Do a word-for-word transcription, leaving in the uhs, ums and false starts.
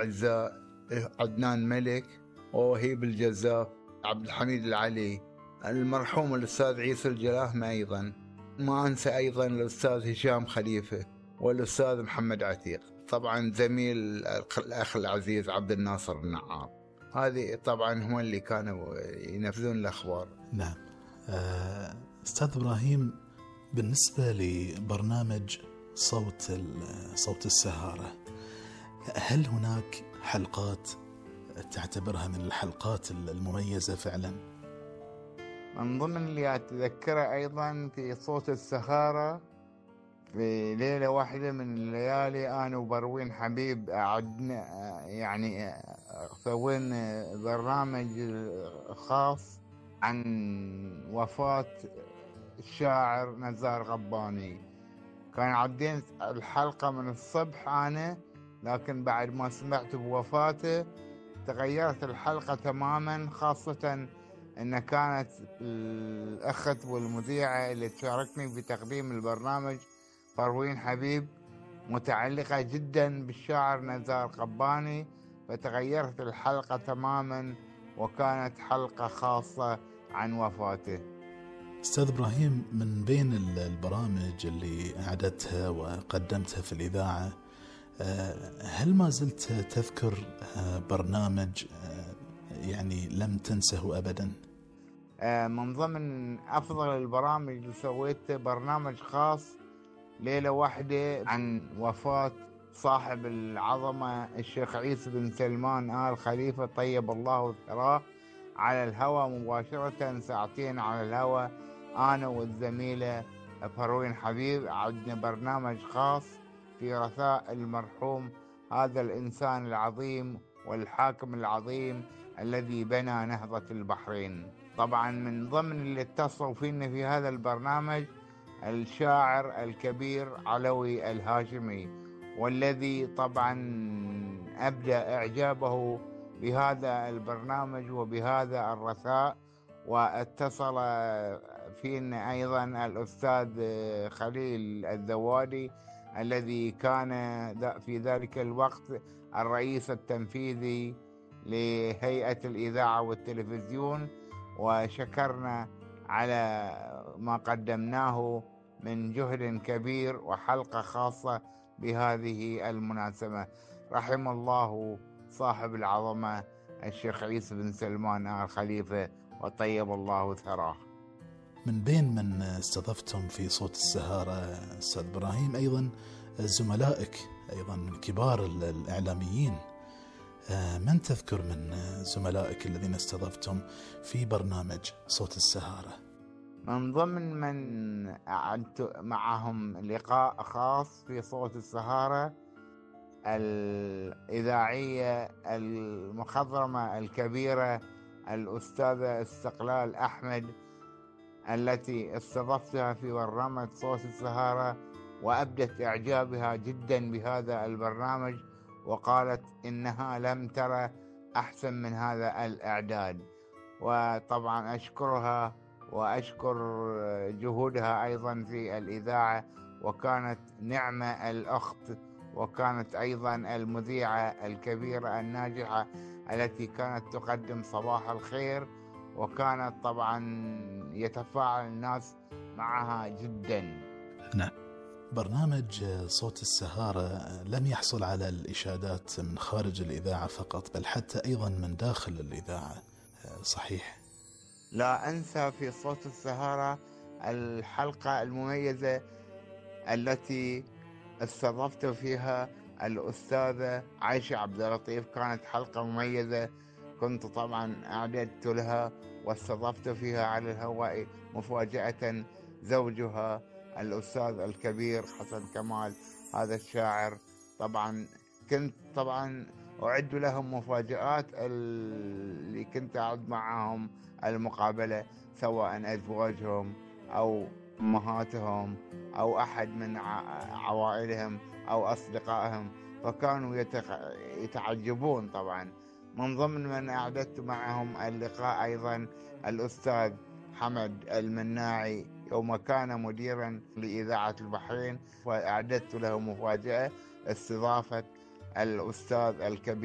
أعزاء عدنان ملك ووهيب الجزاف، عبد الحميد العلي، المرحوم الأستاذ عيسى الجلاهمة، أيضا ما أنسى أيضا الأستاذ هشام خليفة والأستاذ محمد عتيق، طبعا زميل الأخ العزيز عبد الناصر النعام. هذه طبعا هم اللي كانوا ينفذون الأخبار. نعم. أستاذ إبراهيم، بالنسبة لبرنامج صوت صوت السهارة، هل هناك حلقات تعتبرها من الحلقات المميزة فعلا؟ من ضمن اللي أتذكره أيضا في صوت السهارة، في ليلة واحدة من الليالي أنا وبروين حبيب قعدنا يعني سوينا برنامج خاص عن وفاة الشاعر نزار قباني. كان عدين الحلقة من الصبح أنا، لكن بعد ما سمعت بوفاته تغيرت الحلقة تماما، خاصة أن كانت الأخت والمذيعة اللي تشاركني بتقديم البرنامج بروين حبيب متعلقة جدا بالشاعر نزار قباني، فتغيرت الحلقة تماما وكانت حلقة خاصة عن وفاته. أستاذ إبراهيم، من بين البرامج اللي أعدتها وقدمتها في الإذاعة، هل ما زلت تذكر برنامج يعني لم تنسه أبدا؟ من ضمن أفضل البرامج اللي سويته برنامج خاص ليلة واحدة عن وفاة صاحب العظمة الشيخ عيسى بن سلمان آل خليفة طيب الله ثراه، على الهواء مباشرة، ساعتين على الهواء، أنا والزميلة بروين حبيب عندنا برنامج خاص في رثاء المرحوم هذا الإنسان العظيم والحاكم العظيم الذي بنى نهضة البحرين. طبعا من ضمن اللي اتصلوا فينا في هذا البرنامج الشاعر الكبير علوي الهاشمي، والذي طبعا أبدى إعجابه بهذا البرنامج وبهذا الرثاء. واتصل فينا أيضا الأستاذ خليل الذوادي الذي كان في ذلك الوقت الرئيس التنفيذي لهيئة الإذاعة والتلفزيون، وشكرنا على ما قدمناه من جهد كبير وحلقة خاصة بهذه المناسبة. رحم الله صاحب العظمة الشيخ عيسى بن سلمان آل خليفة وطيب الله ثراه. من بين من استضفتم في صوت السهارة أستاذ إبراهيم أيضا زملائك أيضا من كبار الإعلاميين، من تذكر من زملائك الذين استضفتم في برنامج صوت السهارة؟ من ضمن من أعدت معهم لقاء خاص في صوت السهارة الإذاعية المخضرمة الكبيرة الأستاذة استقلال أحمد، التي استضفتها في برنامج صوت السهارة، وأبدت إعجابها جدا بهذا البرنامج، وقالت إنها لم ترى أحسن من هذا الإعداد. وطبعا أشكرها وأشكر جهودها أيضا في الإذاعة، وكانت نعمة الأخت، وكانت أيضا المذيعة الكبيرة الناجحة التي كانت تقدم صباح الخير، وكانت طبعا يتفاعل الناس معها جدا. نعم. برنامج صوت السهارة لم يحصل على الإشادات من خارج الإذاعة فقط، بل حتى أيضا من داخل الإذاعة، صحيح؟ لا أنسى في صوت السهارة الحلقة المميزة التي استضفت فيها الأستاذة عائشة عبد اللطيف، كانت حلقة مميزة، كنت طبعا أعددت لها واستضفت فيها على الهواء مفاجأة زوجها الأستاذ الكبير حسن كمال، هذا الشاعر. طبعا كنت طبعا أعد لهم مفاجآت اللي كنت أعد معهم المقابلة، سواء أزواجهم أو أمهاتهم أو أحد من عوائلهم أو أصدقائهم، فكانوا يتعجبون. طبعا من ضمن من أعددت معهم اللقاء أيضا الأستاذ حمد المناعي، يوم كان مديرا لإذاعة البحرين، وأعددت له مفاجأة استضافة الأستاذ الكبير